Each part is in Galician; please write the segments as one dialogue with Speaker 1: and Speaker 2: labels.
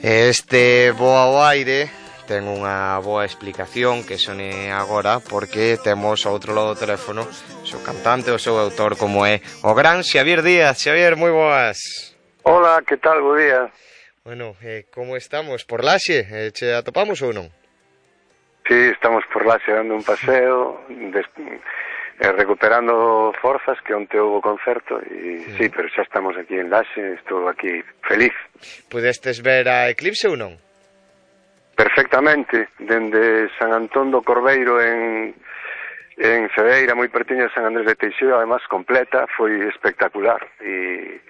Speaker 1: Este Bo ao aire ten unha boa explicación que sone agora porque temos ao outro lado do teléfono o seu cantante, o seu autor, como é o gran Xavier Díaz. Xavier, moi boas.
Speaker 2: Hola, que tal? Bo día.
Speaker 1: Bueno, como estamos? Por Laxe? Che atopamos ou non?
Speaker 2: Sí, estamos por Laxe dando un paseo, recuperando forzas, que onte houve concerto, e sí, pero xa estamos aquí en Laxe, estou aquí feliz.
Speaker 1: Pudestes ver a Eclipse ou non?
Speaker 2: Perfectamente, dende San Antón do Corbeiro en Cedeira, moi pertiño de San Andrés de Teixeira, además completa, foi espectacular, e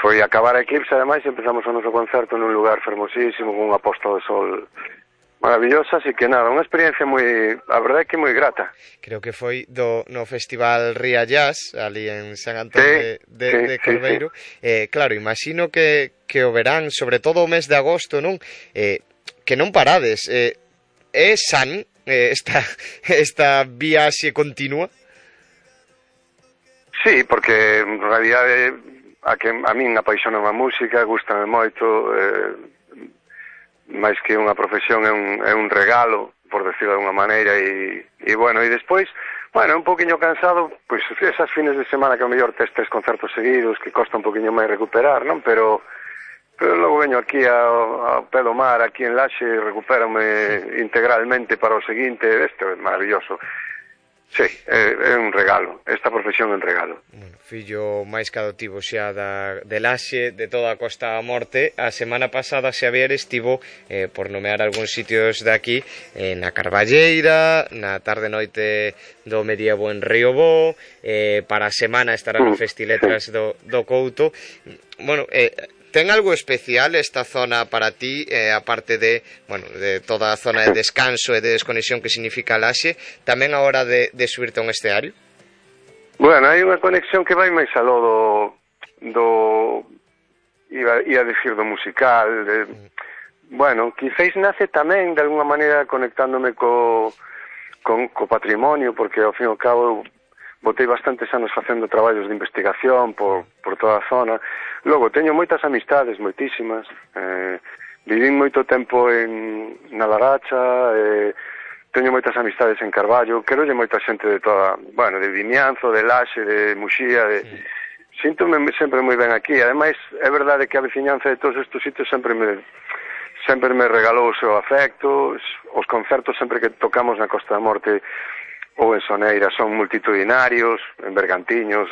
Speaker 2: foi acabar a Eclipse, ademais, empezamos o noso concerto nun lugar fermosísimo, con unha posta de sol maravillosa, así que nada, unha experiencia moi, a verdade é que moi grata.
Speaker 1: Creo que foi no Festival Ría Jazz, ali en San Antón de Corbeiro. Sí. Claro, imagino que o verán, sobre todo o mes de agosto, non? Que non parades. É san esta viaxe continua?
Speaker 2: Sí, porque en realidade a min apaixona a música, gustame moito, máis que unha profesión é un regalo, por decirlo de unha maneira, e bueno, e despois, bueno, un poquinho cansado, pois esas fines de semana que ao mellor tes 3 concertos seguidos, que costa un poquinho máis recuperar, non? Pero logo veño aquí ao pé do mar, aquí en Laxe, e recupérame integralmente para o seguinte. Este é maravilloso. Sí, é un regalo, esta profesión é un regalo.
Speaker 1: Bueno, fillo máis que adoptivo xa de Laxe, de toda a Costa da Morte. A semana pasada Xavier estivo, por nomear algúns sitios de aquí, na Carballeira, na tarde noite do medievo en Riobó, para a semana estará no Festiletras do Couto. Bueno, ten algo especial esta zona para ti, aparte de, bueno, de toda a zona de descanso e de desconexión que significa Laxe, tamén a hora de subirte a un escenario?
Speaker 2: Bueno, hai unha conexión que vai máis aló ia decir do musical, bueno, quizáis nace tamén de alguna maneira conectándome co patrimonio, porque ao fin e ao cabo botei bastantes anos facendo traballos de investigación por toda a zona. Logo, teño moitas amistades, moitísimas. Vivín moito tempo na Laracha, teño moitas amistades en Carballo, querolle moita xente de toda, bueno, de Vimianzo, de Laxe, de Muxía, síntome sempre moi ben aquí. Ademais, é verdade que a veciñanza de todos estes sitios sempre me regalou o seu afecto. Os concertos sempre que tocamos na Costa da Morte ou en Soneira son multitudinarios, en Bergantiños.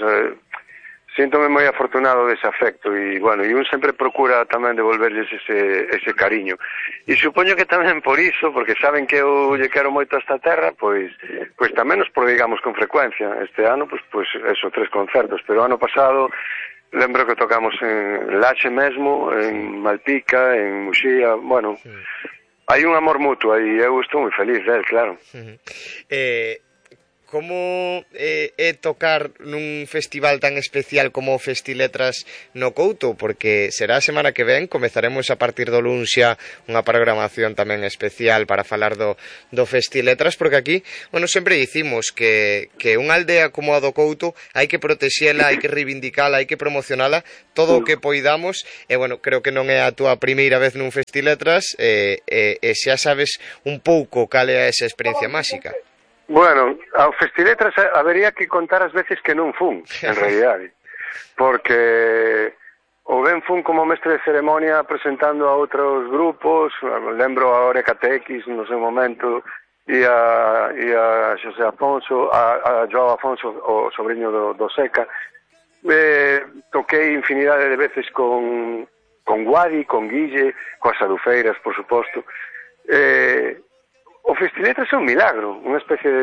Speaker 2: Síntome moi afortunado dese afecto, e bueno, e un sempre procura tamén devolverles ese cariño. E supoño que tamén por iso, porque saben que eu lle quero moito a esta terra, pois tamén nos prodigamos con frecuencia. Este ano, pois eso, 3 concertos, pero ano pasado lembro que tocamos en Laxe mesmo, en Malpica, en Muxía, bueno, hai un amor mutuo e eu estou moi feliz del, claro.
Speaker 1: Como é tocar nun festival tan especial como o Festiletras no Couto? Porque será a semana que ven, comezaremos a partir do luns xa unha programación tamén especial para falar do Festiletras, porque aquí, bueno, sempre dicimos que unha aldea como a do Couto hai que protexela, hai que reivindicala, hai que promocionala todo o que poidamos, e bueno, creo que non é a túa primeira vez nun Festiletras, e xa sabes un pouco cal é esa experiencia máxica.
Speaker 2: Bueno, ao Festiletras habería que contar as veces que non fun, en realidade, porque o ben fun como mestre de ceremonia presentando a outros grupos. Lembro a Oreca TX no seu momento, e a José Afonso, a Joao Afonso, o sobrinho do Seca. Toquei infinidade de veces con Guadi, con Guille, coas Adufeiras, por suposto. O Festiletras é un milagro, unha especie de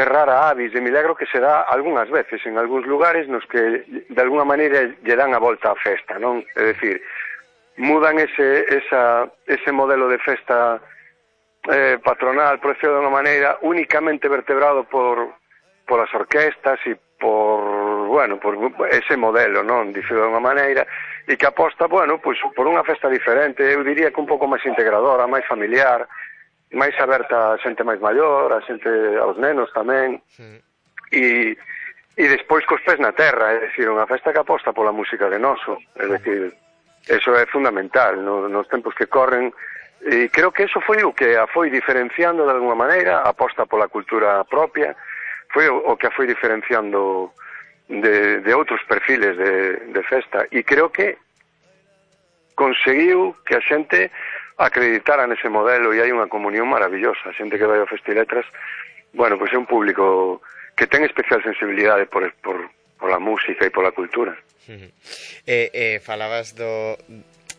Speaker 2: rara avis, de milagro que se dá algunhas veces en algúns lugares nos que de alguna maneira lle dan a volta á festa, non? É dicir, mudan ese modelo de festa patronal, por decirlo de unha maneira, únicamente vertebrado por as orquestas e por ese modelo, non? Dicilo de unha maneira, e que aposta, bueno, pois por unha festa diferente, eu diría que un pouco máis integradora, máis familiar, máis aberta a xente máis maior, a xente, aos nenos tamén, e E despois cos pés na terra, é dicir, unha festa que aposta pola música de noso, é dicir, eso é fundamental nos tempos que corren, e creo que eso foi o que a foi diferenciando de alguma maneira, a aposta pola cultura propia, foi o que a foi diferenciando de outros perfiles de festa, e creo que conseguiu que a xente acreditara nese modelo, e hai unha comunión maravillosa. A xente que vai ao Festiletras, bueno, pois é un público que ten especial sensibilidade por a música e pola cultura.
Speaker 1: Falabas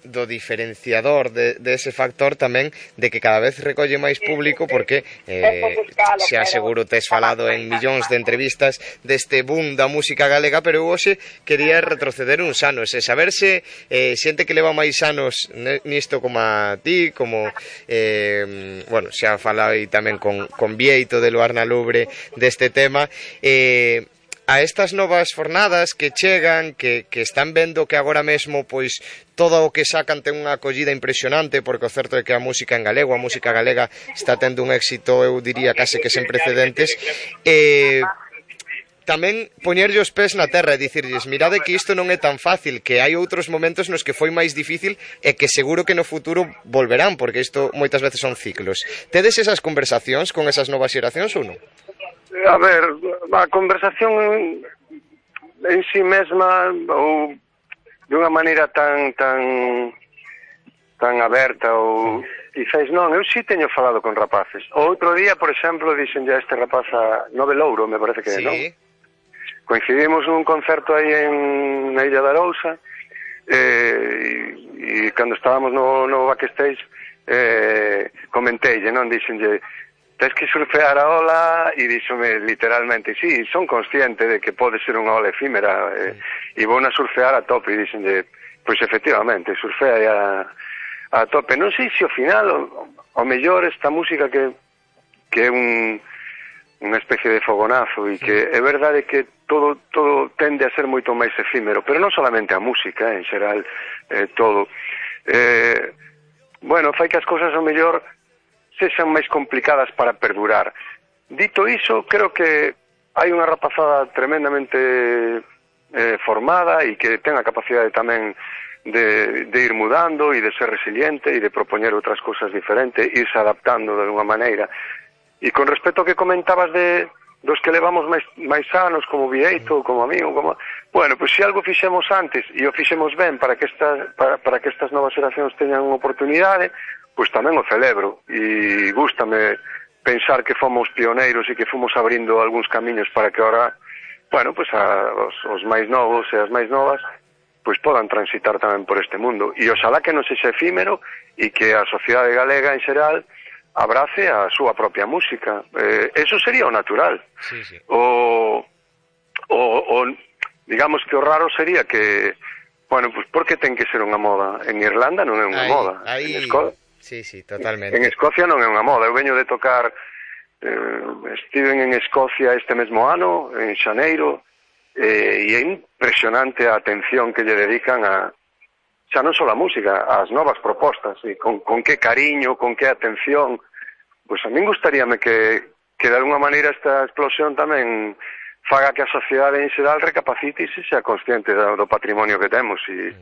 Speaker 1: do diferenciador de ese factor tamén de que cada vez recolle máis público, porque xa seguro tes falado en millóns de entrevistas deste boom da música galega, pero eu hoxe quería retroceder uns anos e saber se xente que leva máis anos nisto como a ti, como bueno, xa falei tamén con Vieito de Luarna Lubre deste tema, a estas novas fornadas que chegan, que están vendo que agora mesmo pois todo o que sacan ten unha acollida impresionante, porque o certo é que a música en galego, a música galega está tendo un éxito, eu diría, case que sen precedentes, tamén poñerlle os pés na terra e dicirlles, mirade que isto non é tan fácil, que hai outros momentos nos que foi máis difícil e que seguro que no futuro volverán, porque isto moitas veces son ciclos. Tedes esas conversacións con esas novas xeracións ou non?
Speaker 2: A ver, a conversación en sí mesma, ou de unha maneira tan aberta, ou quizás non, eu sí teño falado con rapaces. O outro día, por exemplo, dixen ya este rapaz a Nove Louro, me parece que é, non? Coincidimos nun concerto aí na Illa da Arousa, e cando estábamos no backstage, comenteille, non? Dixenlle, tens que surfear a ola, e díxome literalmente, sí, son consciente de que pode ser unha ola efímera, e vou na surfear a tope, e díxenlle, pois efectivamente, surfea a tope. Non sei se ao final, ao mellor esta música que é unha especie de fogonazo, e que é verdade que todo tende a ser moito máis efímero, pero non solamente a música, en xeral, todo. Bueno, fai que as cousas ao mellor sexan máis complicadas para perdurar. Dito iso, creo que hai unha rapazada tremendamente formada e que ten a capacidade tamén de ir mudando e de ser resiliente e de propoñer outras cousas diferentes, irse adaptando de alguna maneira. E con respecto ao que comentabas dos que levamos máis anos, como Vieito, como amigo, bueno, pois se algo fixemos antes e o fixemos ben para que estas novas xeracións teñan unha oportunidade, pois tamén o celebro, e gústame pensar que fomos pioneiros e que fomos abrindo algúns camiños para que ahora, bueno, pois os máis novos e as máis novas pois podan transitar tamén por este mundo, e oxalá que non sexa efímero e que a sociedade galega en xeral abrace a súa propia música. Eso sería o natural.
Speaker 1: Sí, sí.
Speaker 2: Digamos que o raro sería que, bueno, pois por que ten que ser unha moda? En Irlanda non é unha moda. En Escocia,
Speaker 1: sí, totalmente.
Speaker 2: En Escocia non é unha moda. Eu veño de tocar, estiven en Escocia este mesmo ano, en xaneiro, e é impresionante a atención que lle dedican xa non só a música, ás novas propostas, e con que cariño, con que atención. Pois a min gustaríame que de alguna maneira esta explosión tamén faga que a sociedade en xeral recapacite e se xa consciente do patrimonio que temos, e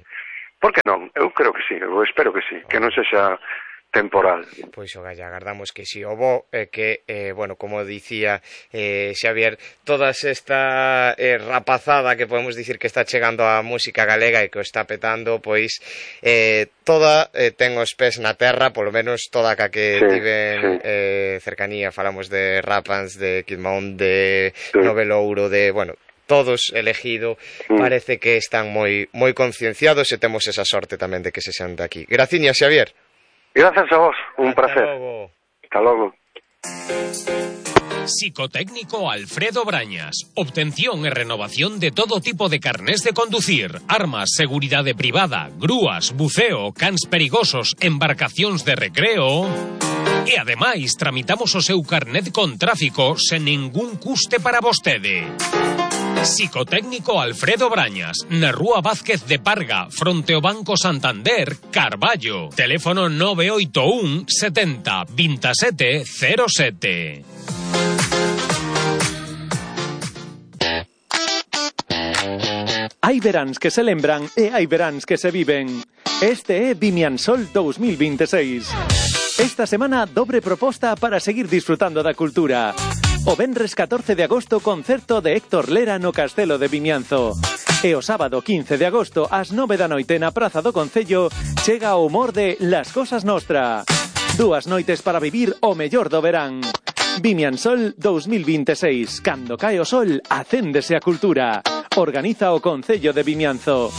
Speaker 2: por que non? Eu creo que sí, eu espero que sí, que non sexa temporal.
Speaker 1: Pois o galla, agardamos que si. O bo é que, bueno, como dicía Xavier, toda esta rapazada que podemos dicir que está chegando a música galega e que o está petando, pois toda ten os pés na terra, polo menos toda a que tiven cercanía. Falamos de Rapans, de Kid Mound, de Nove Louro, de, bueno, todos elegido, parece que están moi concienciados e temos esa sorte tamén de que se sean de aquí. Graciñas, Xavier.
Speaker 2: Gracias a vos, un placer. Hasta logo.
Speaker 3: Psicotécnico Alfredo Brañas. Obtención e renovación de todo tipo de carnés de conducir, armas, seguridade privada, grúas, buceo, cans perigosos, embarcacións de recreo. E ademais tramitamos o seu carnet con tráfico sen ningún custe para vostede. Psicotécnico Alfredo Brañas, na Rúa Vázquez de Parga, fronte ao Banco Santander, Carballo. Teléfono 981 70 27 07.
Speaker 4: Hai veráns que se lembran e hai veráns que se viven. Este é Vimiansol 2026. Esta semana, dobre proposta para seguir disfrutando da cultura. O venres 14 de agosto, concerto de Héctor Lera no Castelo de Vimianzo. E o sábado 15 de agosto, ás 9 da noite na Praza do Concello, chega o humor de Las Cosas Nostra. 2 noites para vivir o mellor do verán. Vimiansol 2026. Cando cae o sol, acéndese a cultura. Organiza o Concello de Vimianzo.